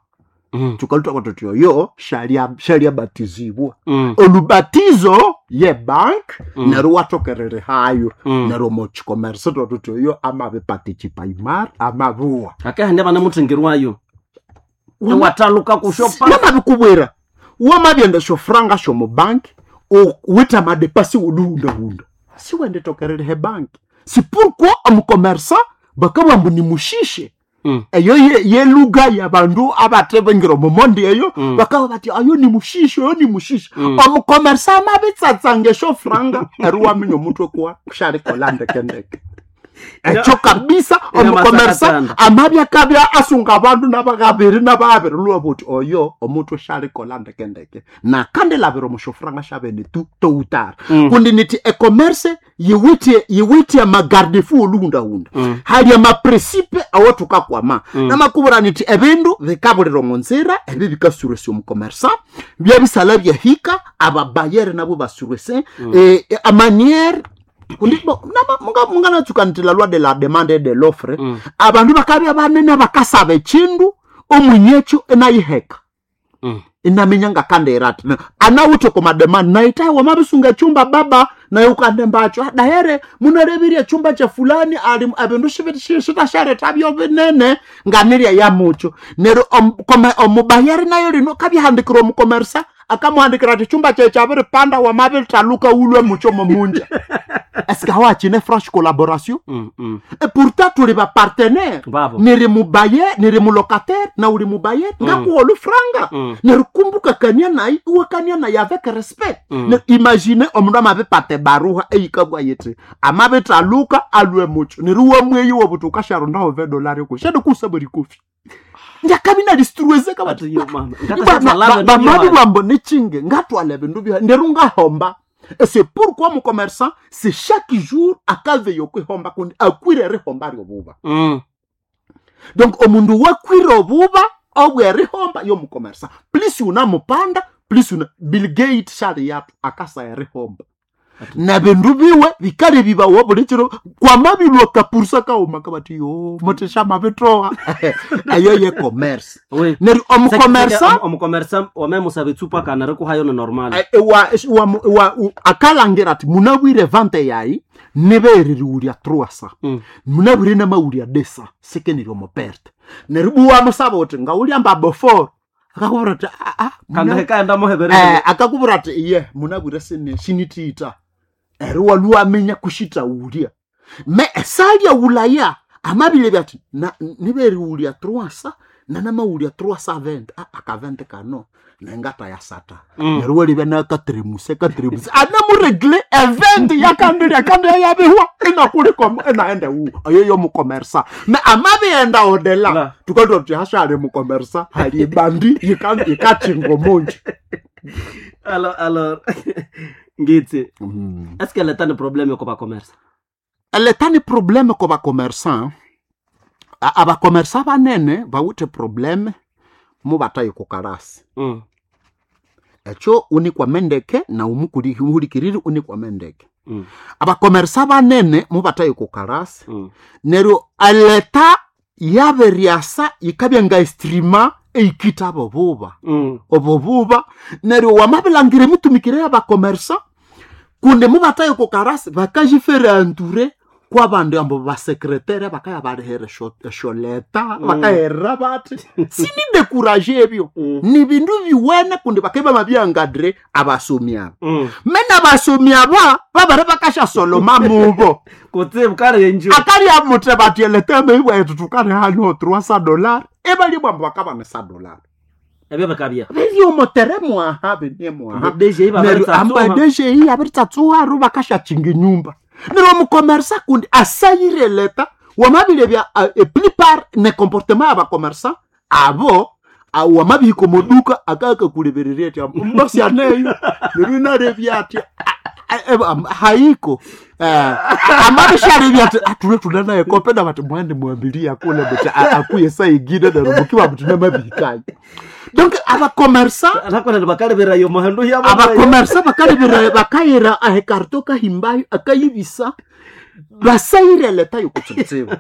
mm. tukaluta kwatoti oyo shalia shalia batizibwa mm. olubatizo ye bank Mm. neryo watokerere hayo Mm. neryo muchikomersa twatuti oyo amabiparticipaimar amabuwa akahandi banamutengerwayo wataluka kushopa namabikubwira wamabyenda shofuranga shomubanki wita madepasi woluhundahunda siwendetokerere he banki si pourquoi omukomersa bakabwa mbu nimushishe mm. eyo ye- yeluga yabandu abatebengira omumondi eyo Mm. bakaba bati ayo ni mushishe oyo ni mushishe Mm. omukomersa amabitsatsanga eshofuranga eri waminya omutwe kwa kusharikola ndekendeke ekyo kabisa Ina omukomersa masakatanda. amabya kabya asunga abandu nabakabiri nababiri lwa buti oyo omutwe sharikola ndekendeke nakandilabira omushofuranga shabene tu toutara Mm. kundi niti ecommerce yiwithe yiwithe amagardefu oluhundahunda Mm. hali amapresipe awo tukakwama Mm. namakubura niti ebindu bikabulira omu nzira ebi bikasuresa omukomersa byabisala byahika ababayere nabo basurese Mm. eh, eh, amaniere kundi bo nama- munga- munganatsuka nti la loi de la demande et de l'offre Mm. abandu bakabya banene bakasaba ekindu omwinyekyo enayiheka Mm. inaminya ngakandira ati anawuthe komademani naitaye wamabisunga chumba baba naye ukandembacho dahere munalebirie chumba cha fulani ali ebindu shitashareta byo binene nganirya yamucho neryo om- kome- omubayeri nayo lino kabyahandikira omukomersa akamuhandikira ati chumba kye kyabiripanda wamabitaluka ulwe mucho momunja eske hawachine franche collaboration Mm. Mm. et pourtant tuli bapartenaire Babo. niri mubaye niri mulocataire na uli mubaye ngakuwa olufranga Mm. nerikumbuka kania naye iwakania naye avec respect Mm. Ne- imagine omundu amabipata ebaruha eyikabwa yiti amabitaluka alwe mucho neri wamweyi wobuti ukasharondaho vedolari ku shade kusaba rikofi njakabi nalistruwezeka Ati bati yo mama. Ngatashatwalana bamabi n'ibyo bambo nechinge ngatwala ebindu bya nderu ngahomba Et c'est pourquoi mon commerçant c'est chaque jour akaveyo kwihomba kundi akwire rihomba ryobuba Mm. donc omundu wakwire obuba obwerihomba yomukomersa plus unamupanda plus una Bill Gates shali yatu akasa erihomba na bindu biwe bikale bibawo buli kiro kwamabilwa kapursa kauma kabati yo motesha mabitoa eyo ye commerce We. neryo omukomersa omukomersa wamemusaba etsupa kana rikuhayo ni normal Eh, wa, wa, wa, u- akalangira ati munabwire vante yayi nibeririwulya truasa Mm. munabwire namawulya desa sekeniryo muperte neryo buwamusaba uti ngawulya mba bofor akakubwira ati "Ah, ah, kandi muna- hekaenda muheberere Eh, akakubwira ati iye munabwire sini sinitiita eri waluwaminya kushita wulya me esalya wulaya amabile byati na- niberiwulya truasa nanamawulya truasa vente ah, akavente kano nengata ya sata Mm. neryo walibya nakatremuse katremuse anamuregle event yakandilya kandi yayabihwa inakuliko inaenda wu oyo yomukomersa me amabienda odela La. tukatwa tuti hashali mukomersa hali ebandi yikachingo munji Alors, alors ngitsi Mm. est-ce que l'État ni problème ko bacommerçants? Eleta ni problème ko bacommerçant. Abacommerçant banene bawithe problème mu batayi ku karasi. Mm. Ekyo unikwame ndeke na umuhulikiriri unikwame ndeke. Mm. Abacommerçant banene mu batayi ku karasi. Mm. Neryo eleta yaberyasa yikabya nga estrima eikita abo buba. Mm. Obo buba neryo wamabilangira emitumikire y'abacommerçant kundi mubataye ku karasi bakajifere entouré kwabandi ambo basekretere bakaya barihera esholeta Mm. bakaherera bati sinidekuraje ebyo. Mm. Ni bindu biwene kundi bakeba mabyangadre abasomi aba. Mm. Mena abasomi aba babare bakashasoloma mubo. Kutse bukarenjo. Akari amuthe bati eleta meibwetu tukari hano trois cents dollars ebali bwambo bakabana cent dollars. Ebyo bakabya. Biri omotere mwaha bene mwaha. D G I Neryo amba D G I abiritsatsuha ru bakashakinga enyumba. Neryo omukomersa kundi asayire leta wamabire bya uh, plupart ne comportement y'abakomersa abo wamabihika omuduka akakakulebererya ati mbasi aneyo neryo inarebya ati haiko amabisharebya ati atule tunanaye kopena bati mwende mwambilia kule buti akuye saigine neryo mukiba buti namabihikayo. Donc abakomersa Nakona bakaleberayo muhendo yabo. Abakomersa bakalebera bakayira ahekarto kahimbayo akayibisa basayire leta yokutsibutsibu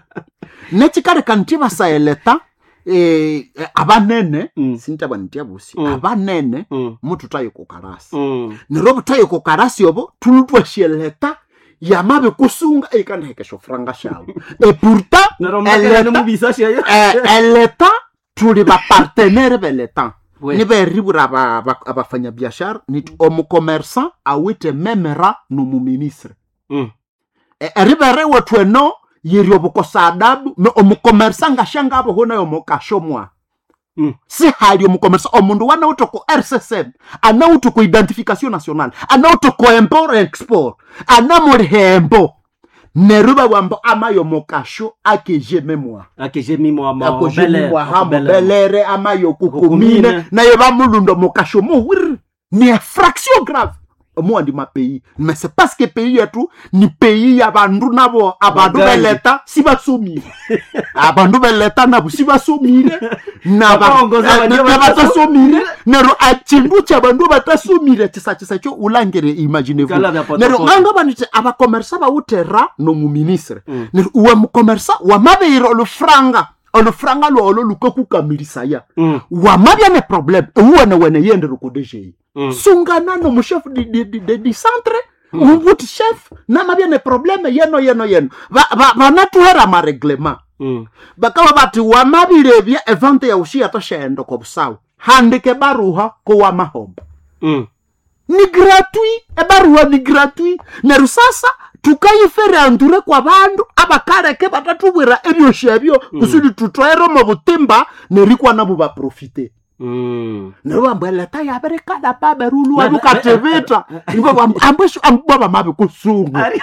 nekikaleka nti basaya leta eh, abanene. Mm. Sintaba nti abusi. Mm. Abanene Mm. mututaye kukarasi. Mm. Neryo obutaye kukarasi obo tulutwasye leta yamabe kusunga eikandihekesha franga shawe e pourtant Neryo makere nimubisa shayo. eh, eleta tuli bapartenere beleta. Oui. Niberibura abafanyabiashara niti omucommerçant awite memera nomuministre. Mm. Eribere wethu eno yiri obukosa adabu me omucommerçant ngashanga aboho nayo mukashomwa. Mm. Sihali omucommerçant omundu wanawuthe ku R C S M anawuthe ku identification nationale anawuthe ku import export anamulihembo neryo babwambo amayo mukasho akeje memwa. Akeje mimwa ma Akeje mimwa ha mobelere amayo Kukumine. kukumine naye bamulundo mukasho muwiri ni infraction grave moi ndi ma pays mais c'est parce que pays yetu ni pays ya bandu nabo abandu Bagangi. beleta si basomire abandu beleta nabo si basomire na ba- Bakongoza eh, bandu na batasomire nero achindu cha bandu batasomire chisa chisa cho ulangere imaginez-vous Kala vya poto nero poto. nganga banite abakomersa bawutera no mu ministre. Mm. Nero uwe mukomersa wamabeiro olufranga olufranga lwolo lukakukamilisaya. Mm. Wamabya ne problème uwene wene yendere ku D G I. Mm. Sungana no muchef di, di, di, di, di centre mm. Ubuti chef namabya ne problème yeno yeno yeno vanatuhera ba, ba mareglement. Mm. Bakaba bati wamabirebya evente ya ushiya toshendo ko busawu handike baruha ko wamahomba. Mm. Ni gratuit ebaruha ni gratuit neryo sasa tukayifere andure kwa bandu abakaleke batatubwira ebyoshi ebyo. Mm. Kusudi tutwere omu butimba nerikwa nabo baprofite. Mm. Neryo bambu eleta yabirikala baberulwa Na- lukatibita ambwesho ambwa bamabikusungu. Ari-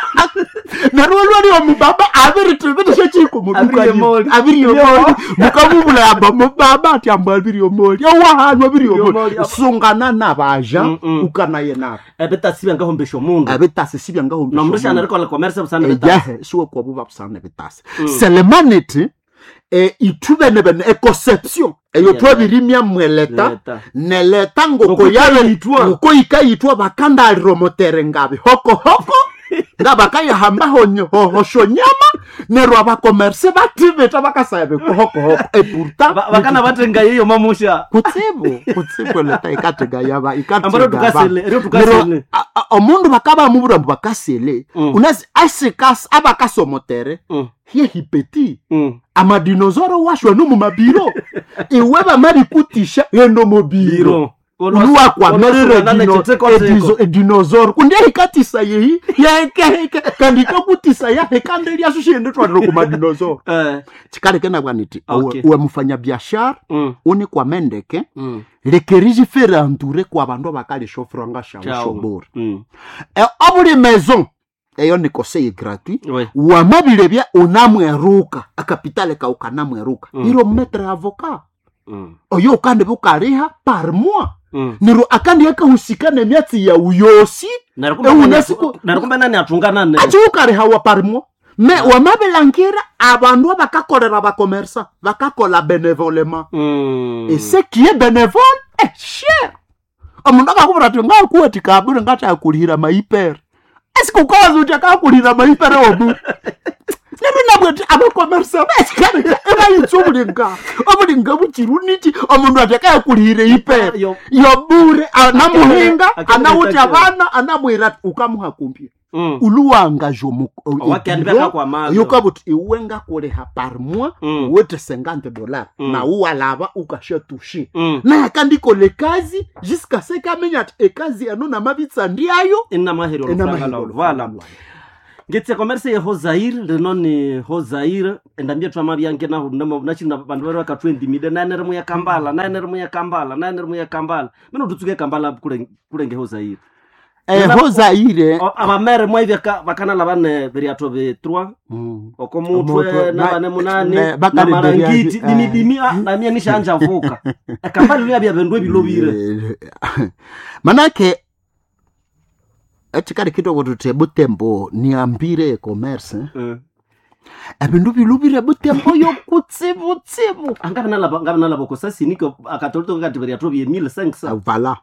Neryo olwali omubaba abiritibita syekiko muduka Abiriomoli. abiriomoli mukamubula amba mubaba ati ambwa abiriomoli owahanu abiriomoli Abiriomoli. sungana nabaja. Mm, mm. Ukanaye nabo Ebitasi byangahombesha omundu. ebitasi sibyangahombesha Nomrusha omundu. nerikola commerce busana bitasi. Ejahe siwe kwabuba busana ebitasi. Mm. Selemaniti eh, ithubene bene econception eyo Yeah. twabirimya mweleta Leta. neleta ngoko Ngoko yabe ngoko ikayithwa bakandaliromotere ngabi hokohoko nga bakayahamba honyo hoshonyama neryo abakomerse bathibita bakasaya bikohokohoko epurta Ba- Bakana batenga yeyo mamusha. kutsibu kutsibu eleta ikatega yaba Ambaro ikatega tukasele, ba ero tukasele. Neryo, a- a- omundu bakaba mubura mbu bakasele. Mm. Unasi asikasi abakasomotere Mm. hiehipeti Mm. amadinozoro washwa nomumabiro iwe bamabikutisha endo mobiro. Biro. Luwakwamerere Olwa- edinozoro kundi ehikatisa yehi yahekaheka kandi ikakutisa yahekande lyaso shiyende twalire kumadinozoro. Eh. Chikaleke nabwaniti Okay. uwe mufanyabiashara Mm. unikwamendeke Mm. lekeriji anture kwa bandu abakalisha franga Ciao. shawushobora. Mm. Obuli maison eyo ni conseil gratuit. We. Wamabirebya unamweruka akapitale kawu kanamweruka. Mm. Iro metre avocat Mm. oyo ukande bukaliha par mois. Mm. Neryo akandi akahusika nemyatsi yawu yosi. Neryo kumbe Ewu nani- nasiku- neryo kumbe nani atunga nane. Achiukarihawa parimo me wamabilangira abandu abakakolera bakomersa bakakola benevolema. Mm. Et ce qui est bénévole est cher. Omundu akakubwira ati ngakuwa tikabure ngati akulihira maipere, esike ukawaza uti akakulihira maipere omu. Neryo nabwo ati abakomersa besikale ebayitsa obulinga obulinga buchiru niki omundu ati akayakulihira ipere Yo- yobure anamuhinga. Akere- Anawuthi akere- abana anamuhira ati ukamuha kumpya. Mm. Uluwangaje Owakandi bakakwamazo. yukabuti iwe ngakuliha par mois Mm. wete cinquante dollars Mm. na uwalava ukashatushe. Mm. Naye akandikola ekazi jusqu'à ce kamenya ati ekazi eno namabitsa ndiayo. Inamaheri olufranga lwawu. Voilà. Ngetse commerce ye hozair rino ni hozair endambia twama byange naho nachina bandu bari bakatwendimide nane rimu ya kambala nane rimu ya kambala nane rimu ya kambala mino tutsuke kambala kule kulenge hozair. Ehozaire. O- abamere mwaivya bakanala bane biriato bi trois oko mutwe Omutwe, nabane na- munani ne- bakali na marangiti beriazi- dimidimi ah, namia nishanja vuka ekambala lya bya bindu ebilobire. Manake echikali kitoko tuti ebutembo niambire ecommerce Eh. ebindu bilubire butembo yokutsibutsibu. Angabe nalaba kosasiniko akatolito kati biriato bye mille cinq cents. Vala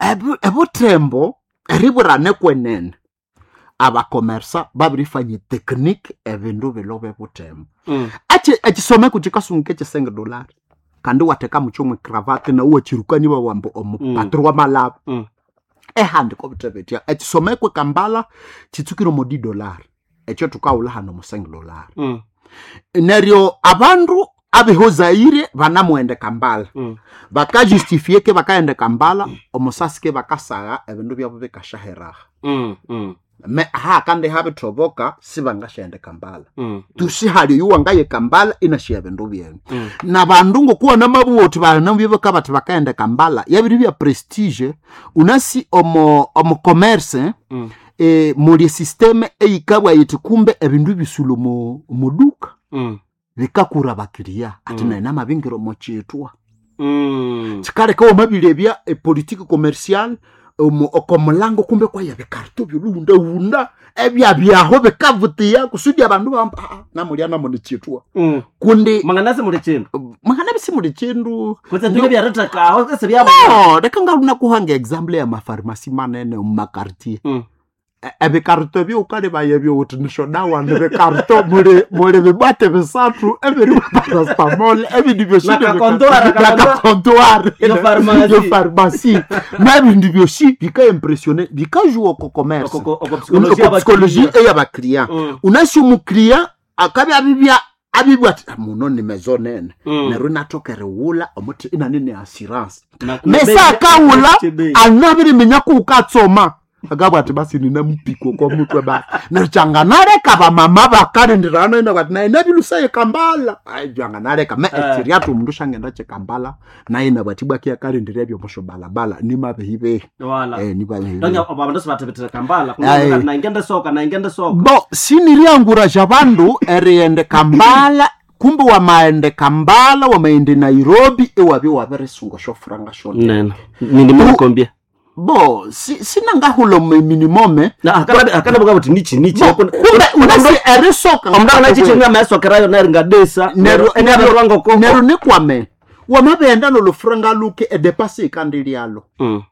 Ebu- ebutembo eriburane kwenene abakomersa babirifanya technique ebindu bilobe butembo. Mm. Achi ekisomeko kikasunga ekisenge dolari kandi wateka mukyomwe cravate na uwachirukani wawambo omupatri mm. wamalaba. Mm. Ehandi kobutebetya ekisomeko kambala kitsukire omo di dolari ekyo tukawula hano musenge dolari. Mm. Neryo abandu abehozaire banamughenda kambala. Mm. Bakajustifie ke bakaghenda kambala omusasi ke bakasagha ebindu byabo bikashaheraha. Mm. Mm. Me aha kandi habithoboka sibangashaghenda kambala. Mm. Tusihali oyu wangaye kambala inashiya ebindu byenu. Mm. Nabandu ngokuwa namabuwa uthi banabibeka bathi bakaghenda kambala yabiri bya prestige unasi omo omo commerce. Mm. E, muli systeme eyikabwa yithi kumbe ebindu bisula omu omuduka. Mm. Bikakura bakiriya ati Mm. naye namabingira omo kyitwa. Mm. Kikaleka wamabirya epolitiki commercial omu okomulango kumbe kwaya bikarito byoluwundawunda ebyabyaho bikavutiya kusudi abandu bamba "Ah, ah, namulya namuli kyitwa." Mm. Kundi Manganasi muli chindu mangana bisimuli kindu. kutse tuke byaritakaho kese byabo. No, leka ngalunakuhanga example ya mafarmasi manene mumakartier. Mm. Ebikarito ebyukalibaya ebyowuthi nishodawa nibikarito muli muli bibwate bisathu ebiri parastamol ebindi byosi. Nakakontoara, nakakontoare. Yo pharmacy. Yo pharmacy nebindi byosi bikaimpressione bikajua oko commerce. Oko- oko psychologie oko psychologie y'abakiriya. ey'abakiriya. Mm. Unasi omukiriya akabya abibya abibwa ati "Ah, muno ni maison nene." Mm. Neryo inathoka erighulha omuthi inanene assurance. Na- Mesa akawula Chebe. anabiriminya kuukatsoma akabwa ati basi ninamupiko kwa mutwe basi neryo kyanganaleka bamama bakalindirana ina bati naye nabilusaye kambala ai byanganaleka me Eh. ekiryathu omundu syangenda kyekambala naye nabwati bwaki akalindira ebyomushobalabala nimabehibehi. Wala. Eh, nimabehibehi. Donge abandu sibathebethera kambala Aye. naingende soka naingende soka. Bo siniriangurasha bandu erighenda kambala kumbe wamaghenda kambala wamaghenda nairobi iwabya wabirisunga syofuranga syona. Nene nindimulukombia. Bo si- sinangahula minimome. Akanabuka buti nichi nichi. Bo, kumbe unasi erisoka. Omundu anachichimia maesokerayo neringadesa Neryo- neryo neryo nikwame wamabenda nolufuranga luke edepasi ikandi lyalo.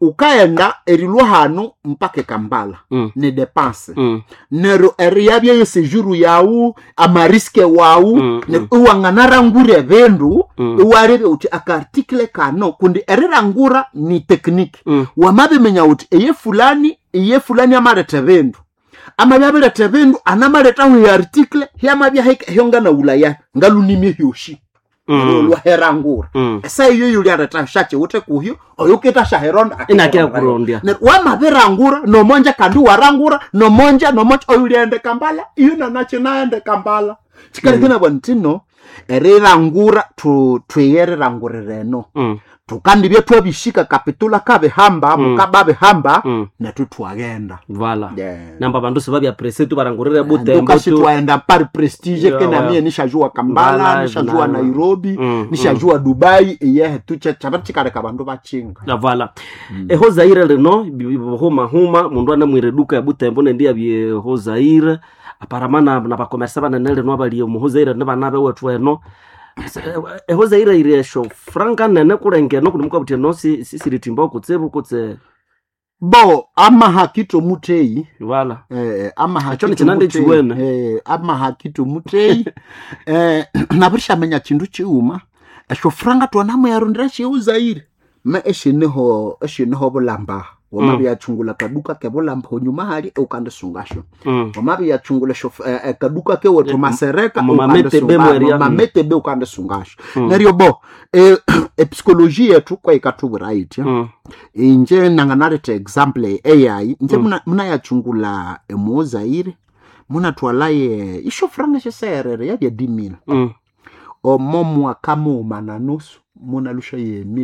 Ukaghenda erilwa hanu mpaka ekambala ni depanse. Neryo eriyabya yesejuru yawu amariske wawu. Mm, neryo iwanganarangura ebindu. Mm. Iwarebya uthi akaartikle kano kundi erirangura ni technique. Mm. Wamabiminya uthi eye fulani iye fulani amaletha ebindu amabya abiretha ebindu anamalethaho eartikle hyamabya hyonganawulaya ngalunimye hyoshi olwaherangura. Esa iyo yuliaretha syakiwuthe kuhyo oyukitha syaheronda. Inakia kurondya. Neryo wamabirangura nomonja kandi warangura nomonja nomonja oyuliaghenda kambala iyo nanakyi naghenda kambala kikaleka nabwa ntino. Erirangura tu- twiyerirangurira eno. Mm. Tukandibya twabishika kapitula kabihamba, Mm. mukababihamba, Mm. nethu twagenda. Vala. Yeah. Namba bandu sibabya presse tu barangurire butembo Ndukasi tu. twaenda par prestige. Yeah, Kenamie well. nishajua Kambala, Mbala, nishajua na- Nairobi, Mm, nishajua Dubai, iyehe tuche chabachikaleka bandu bachinga. Na vala. Eho Zaire lino huma huma mundu anamwire duka ya butembo nendi yabye ho Zaire aparamana na bakomersa banene lino abali omu ho Zaire ne bana bewethu eno. Eho Zaire iri esho franka nene kulengeno kundi mukabuthi eno si- si- siritimba kutsibu kutse. Bo amahakito muteyi. Vala. Eh, amahakito Ekyo ni kinande muteyi, chiwene. eh, amahakito muteyi, eh, nabirishamenya chindu chiuma esho franga twanamuyarundira sheu Zaire me eshiniho eshiniho bulamba wamabyachungula kaduka ke bulamba honyuma hali ukandisungasho. Mm. Wamabyachungula esho eh, eh, kaduka ke wethu Eh, masereka. Mumametebe mweria. Mametebe ukandisungasho. Mm. Neryo bo eh, epsikoloji yetu kwaikatubwira itya. Mm. Inje nanganaleta example eyayi nje. Mm. Muna- munayachungula emuozaire munatwalaye isho franga sheserere yabya dimila. Mm. Omo mwaka muuma na nusu munalusha ye mil.